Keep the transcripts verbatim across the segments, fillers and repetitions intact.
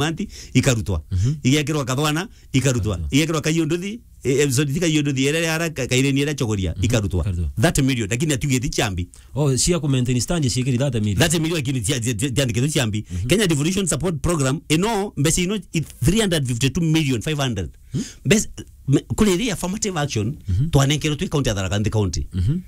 Manti, ikarutwa. Mhm. Igekirwa Kathwana, ikarutwa. Ikarutwa. Igekirwa Kaiunduthi, eh, eh, sorry, ti Kaiunduthi, ere ara ka-, Kaireni ere Chogoria, Mhm. ikarutwa. Ikarutwa. Thirty million, lakini atiugite ciambi. Oh, cia ku maintain stand ciikiri thirty million. Thirty million, lakini cia, cia, cia, ciandikitwe ciambi. Mhm. Kenya Devolution Support Program, ino, mbeca ino, i three hundred fifty-two million five hundred. Hmm? Mbeca, me-, kuri iri affirmative action, Mhm. twanenkerwe twi county ya Tharaka Nithi County. Mhm.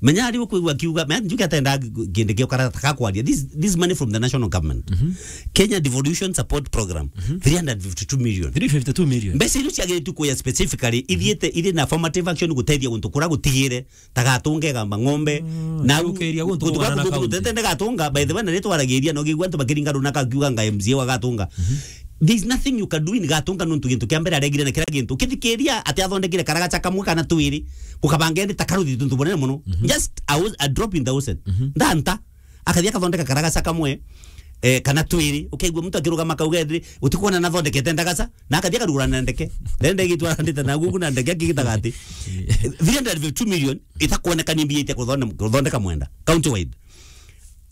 Menya ari ukwigua akiuga, menya njuke atenda kindi kio karata ka kwaria. This, this money from the national government. Mhm. Kenya Devolution Support Program, Mhm. three hundred fifty-two million. Three fifty-two million. Mbeca icio ciagiritu kuya specifically, Mhm. ithiite, iri na affirmative action gutethia guntu kura gutigire, ta gatunga igamba ng'ombe. Mm, na gukiria guntu guntu gwa gwa na guntu county. Gutete gatunga, by the way, na ritwaragiria no gigwa antu bakiringa runa kakiuga nga M C A wa gatunga. Mhm. There's nothing you can do in gatunga nontu gintu kia mbere aregire na kira gintu. Ukithikiria ati athondekire karagaca kamwe kana twiri, gukabanga indi ta karuthi tuntu bunene muno. Mhm. Just a, a drop in the ocean. Mhm. Ndanta, akathia akathondeka karagaca kamwe, eh, kana twiri. Ukaigua muntu akirugama akauga indi, "Utikuona nathondekete ndagaca?" Na akathia akarugura na ndeke. Ndende igitwara ndite na guku na ndeke akigitaga ati, three hundred fifty-two million itakuoneka ni mbia itia kuthonde-, kuthondeka mwenda. County wide.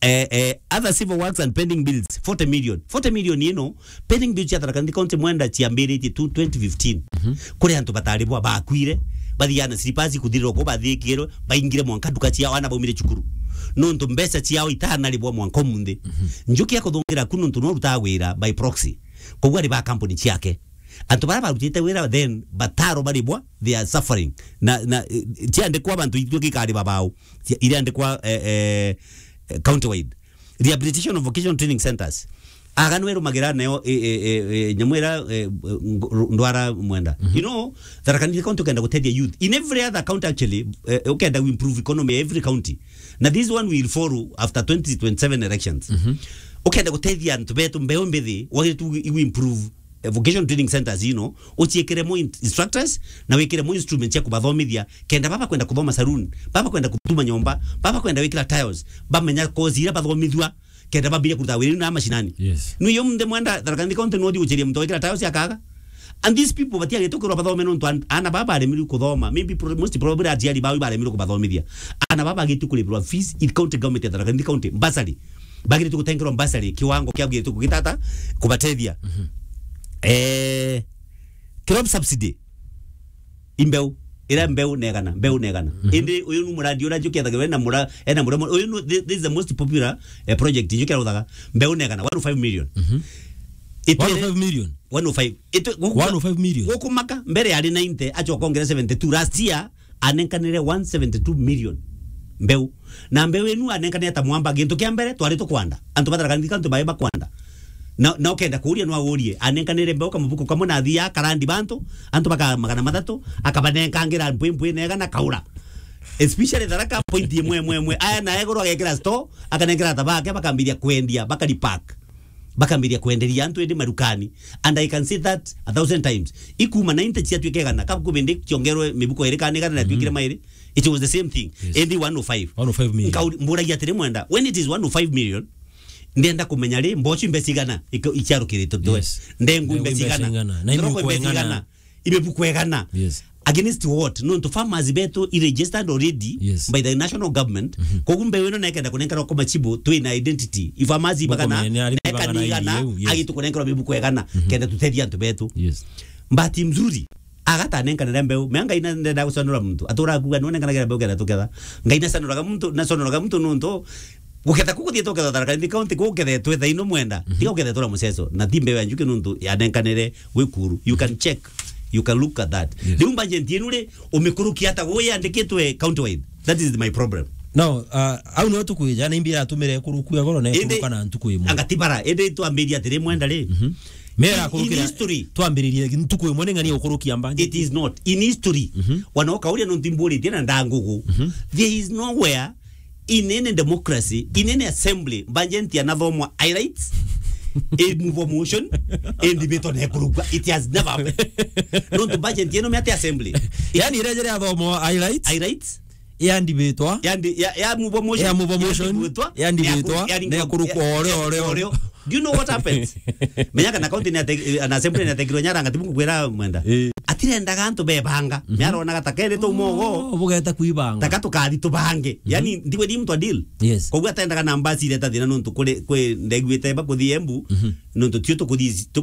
Eh, eh, other civil works and pending bills, forty million. Forty million ino, pending bills cia Tharaka Nithi County mwenda ciambiritie tu twenty fifteen. Mhm. Kuri antu bataribwa bakwire, bathiana slippers kuthirira ku bathikirwe, baingire mwanka nduka ciao ana baumire cukuru. Nontu mbeca ciao itanaribwa mwanka umunthi. Mhm. Njuki ya kuthungira ku nontu no rutaga wira by proxy. Koguo ari ba kampuni ciake. Antu baria barutite wira then bataro baribwa, they are suffering. Na, na, eh, ciandikwa bantu itwe gikariba bao. Cia-, iriandikwa, eh, eh, eh, county wide. Rehabilitation of vocational training centers. Aganu erumagira nayo, eh, eh, eh, eh, nyamu ira, eh, ngo-, ndwara mwenda. Mhm. You know, Tharaka Nithi County ukenda gutethia youth. In every other county actually, eh, ukenda we improve economy every county. Na this one will follow after twenty twenty-seven elections. Mhm. Ukenda gutethia antu betu mbeu mbithi, wagiritu igu improve, eh, vocational training centers ino, uciikire mo in-, instructors, na wikire mo instruments cia kubathomithia, kenda baba kwenda kuthoma saloon, baba kwenda kutuma nyomba, baba kwenda wikira tiles, bamenya course ira bathomithua, kenda bambire kuruta wira na mashinani. Yes. Nu yo mnde mwenda Tharaka Nithi County no thi guceria muntu wikira tiles akaga. And these people batiagite kwirwa bathome nontu an-, ana baba baremirwe kuthoma. Maybe pro-, most probably aciari bao baremirwe kubathomithia. Ana baba bagite kuripirwa fees in county government ya Tharaka Nithi County, bursary. Bagirite gutengerwa bursary, kiwango kia bagirite kugitata, kubatethia. Mhm. Eh, crop subsidy. Imbeu. Ira mbeu negana, mbeu negana. Mhm. Indi uyu nu muradi ura njuki ethagirwa ena mura-, ena muremo. Uyu nu, thi-, this is the most popular, eh, project njuki aruthaga. Mbeu negana, one oh five million. Mhm. Itwire one oh five million? One oh five. Itwe, guku-, one oh five million? Gukumaka, mbere yari ninety, acoka ongera seventy-two. Last year, anenkanire one seventy-two million mbeu. Na mbeu inu anenkanire ta mwamba, gintu kia mbere twari tukwanda. Antu ba Tharaka Nithi County bae bakwanda. Na, na ukenda kuuria no aurie, anenkanire mbeu kamubuku kamwe na athia karandi bantu, antu baka magana mathatu, akabanenkangira mpwi mpwi nega na kaura. Especially Tharaka point imwe imwe imwe. Aya na egoro agekira store, akanengera ata bake, bakambiria kwendia, bakari pack. Bakambiria kwenderia antu indi marukani. And I can say that a thousand times. Ikuma ninety ciatuika igana, kabu kubindi kiongerwe mibuko iri kana igana na twikire mairi. It was the same thing. Yes. Indi one oh five. One oh five million. Nkauri-, mburagia atiri mwenda, when it is one oh five million, ndenda kumenya ri, mboci mbeca igana ika-, iciarukirite twe. Yes. Ndengu mbeca igana. Ndengu mbeca igana. Na imebukwa igana. Imebukwa igana. Yes. Against what? Nontu farmers betu i registered already, yes, by the national government. Mhm. Koguo mbeu ino nekenda kunenkerwa kwa machibu, twi na identity. I farmers bagana, kumenya ni ari na ekani bagana igana, iriu, yes, agitu kunenkerwa mibuko igana, mhm, kenda tutethia antu betu. Yes. Bahati mzuri, agatanenkanira mbeu. Mea Ngai na ndenda gucanura muntu. Atura akuga, "None nkanagira mbeu kenda tuketha." Ngai nacanuraga muntu, nacanuraga muntu nontu guketha kuku thietwe uketha Tharaka Nithi County, kukethetwe thaino mwenda. Mhm. Tiga ukethetwe na muceco. Na ti mbeu ya njuki nontu yanenkanire gwi kuru. You can check. You can look at that. Yes. Riu budget yenu ri, umikurukia ata gwe yandikitwe county wide? That is my problem. Now, uh, au no tukwija, na imbi iratumire kurukua goro na indi ikuruka na ntuku imwe. Anga ti bara, indi twambiria atiri mwenda ri. Mhm. Mera in, in kurukira history, twambiririe ntuku imwe ni ng'ania ukurukia budget. It is not. In history, mhm, wana ukauria nontu imburitie na ndangugu. Mhm. There is nowhere in any democracy, in any assembly, budget yanathomwa highlights, a move of motion, a debate on ekurugwa. It has never happened. Nontu budget yenu me ati assembly. Yani, irejere athomwa highlights. Highlights. Yandibitwa. Yandi-, ya, ya move of motion. Ya move of motion. Yandibitwa. Yandibitwa. Ya ku-, ya na ikurukwa ya, ore, ya ore, ore. Do you know what happens? Menya kana county ni ate-, an assembly ni atekirwe nyara ngatibu kukwira mwenda. Eh. At irendaga antu bebanga. Mhm. Niaronaga ta keri tu mogo. Oh, bugeta kuibanga. Taka tukathi tubange. Mhm. Yani, ndigwithii muntu a deal. Yes. Koguo atendaga na mbasi ireta thina nontu kuri, kwi ndaiguite bakuthi Embu, Mhm. nontu tio tukuthi,